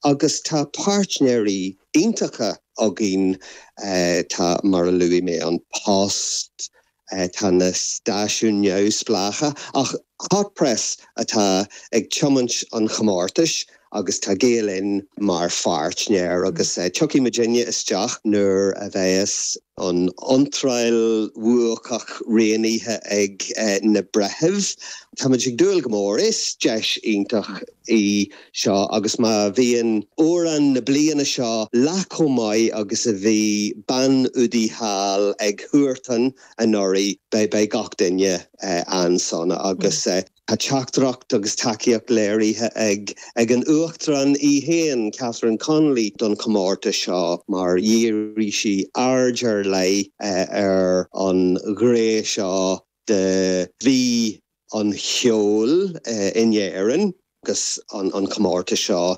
Agus tá páirtnéirí iontacha againn, tá, mar a luaigh mé, An Post, tá na stáisiúin neamhspleácha, ach Hot Press atá ag tiomáint an chomórtais agus tá Gael Linn mar pháirtnéir agus tiocfaidh muidinne isteach nuair a bheas an iontráil bhuacach roghnaithe ag na breithimh. Táimid ag dúil go mór, is deis iontach í seo agus má bhíonn amhrán na bliana seo leath chomh maith agus a bhí Bean Udaí Thall ag Huartan anuraidh, beidh gach duine an-sona agus tá teachtaireacht agus tacaíocht léirithe ag ag an Uachtarán í féin, Catherine Connolly, don chomórtas seo mar dhírigh sí aird ar leith ar an ghné seo de mhí an cheoil in Éirinn agus an comórtas seo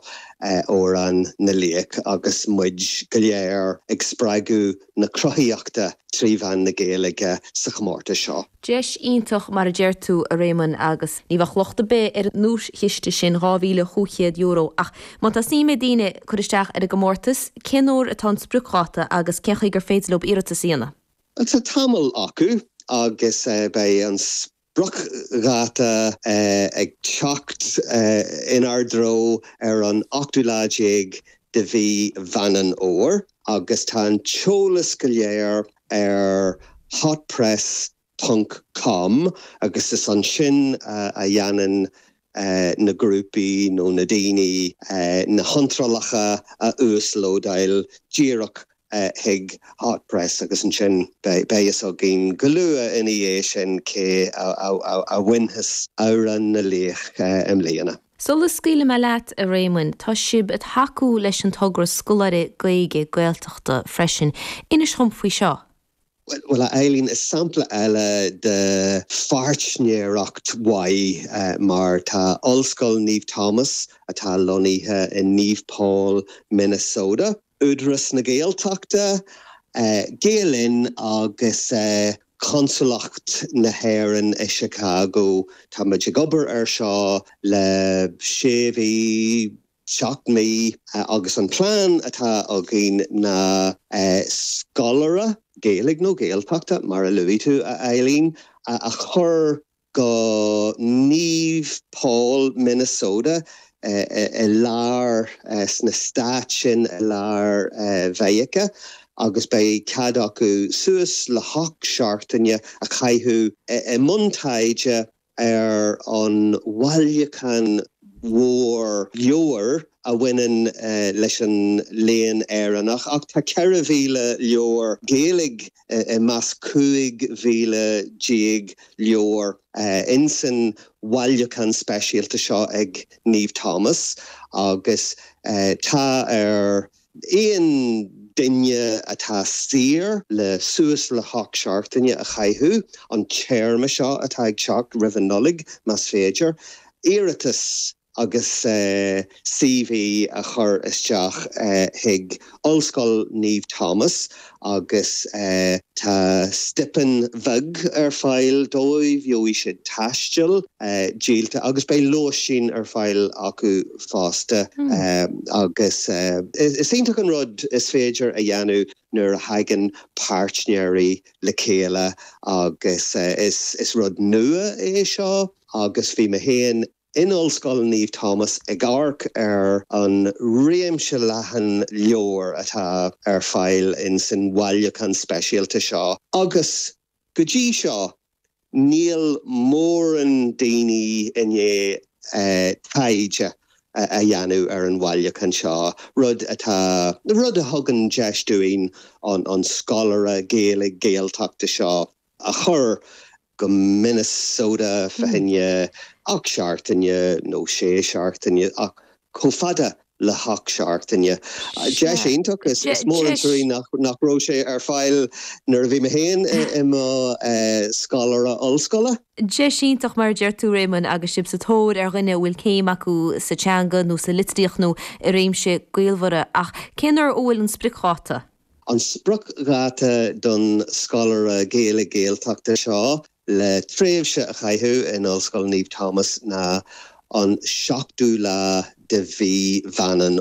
Amhrán na Laoch agus muid go léir ag spreagadh na cruthaíochta trí mheán na Gaeilge sa chomórtas seo. Deis iontach mar a deir tú, a Réamoinn, agus ní bheadh locht ar bith ar an nduaischiste sin, €2,500, ach má tá suim ag daoine cur isteach ar an gcomórtas, cén uair atá an spriocdháta agus cén chaoi gur féidir leo iarratas a dhéanamh? Tá tamall acu agus beidh an spriocdháta ag teacht inár dtreo ar an ochtú lá déag de mhí Mheán an Fhómhair agus tá an t-eolas go léir ar hotpress ponc com agus is ansin a dhéanann na grúpaí nó na daoine na hiontrálacha a uaslódáil díreach chuig Hot Press agus ansin beidh fhios againn go luath ina dhiaidh sin cé a bhainfeas Amhrán na Laoch i mbliana. Sula scaoilfidh mé leat, a Réamoinn, tá sibh ag tacú leis an togra Scoláire Gaeilge Gaeltachta freisin. Inis dhom faoi seo. Bhuel, a Eileen, is sampla eile de pháirtnéireacht mhaith mar tá Ollscoil Naomh Thomas, atá lonnaithe i Naomh Paul, Minnesota, Údarás na Gaeltachta, Gael Linn agus Consalacht na hÉireann i Chicago, tá muid ag obair air seo le sé mhí, 7 mí agus an plean atá againn ná scoláire, Gaeilge nó Gaeltachta mar a luaigh tú, a Eileen, a chur go Naomh Paul, Minnesota i lár, sna stáit sin i lár Mheiriceá agus beidh cead acu suas le hocht seachtaine a chaitheamh i mbun taighde ar an bhailiúchán mhór leabhar a bhaineann leis an Léann Éireannach, ach tá 4,000 leabhar Gaeilge i measc 15,000 leabhar insan bhailiúchán speisialta seo ag Naomh Thomas agus tá ar Aon duine atá saor le suas le hocht seachtaine a chaitheamh, an téarma seo atá ag teacht roimh an Nollaig, más féidir, iarratas agus CV a chur isteach chuig Ollscoil Naomh Thomas agus tá stipinn bheag ar fáil dóibh, gheobhaidh siad taisteal díolta agus beidh lóistín ar fáil acu fosta agus is iontach an rud is féidir a dhéanamh nuair a thagann páirtnéirí le chéile agus is rud nua é seo agus bhí mé féin in Ollscoil Naomh Thomas ag amharc ar an réimse leathan leabhar atá ar fáil in san bhailiúchán speisialta seo agus go dtí seo níl mórán daoine i ndiaidh taighde a dhéanamh ar an bhailiúchán seo, rud atá, rud a thugann deis dúinn an scoláire Gaeilge Gaeltachta seo a chur go Minnesota fá choinne 8 seachtaine nó 6 seachtaine ach chomh fada le hocht seachtaine. Deis iontach, is mór an trua nach raibh sé ar fáil nuair a bhí mé féin i mo scoláire ollscoile. Deis iontach mar a deir tú Réamonn agus sibh sa tóir ar dhuine a bhfuil céim acu sa teanga nó sa litríocht nó i réimse gaolmhara. Ach cén uair a bhfuil an spriocdháta? An spriocdháta don scoláire Gaeilge Gaeltachta seo le tréimhse a chaitheamh in Ollscoil Naomh Thomas ná an seachtú lá de mhí Mheán an.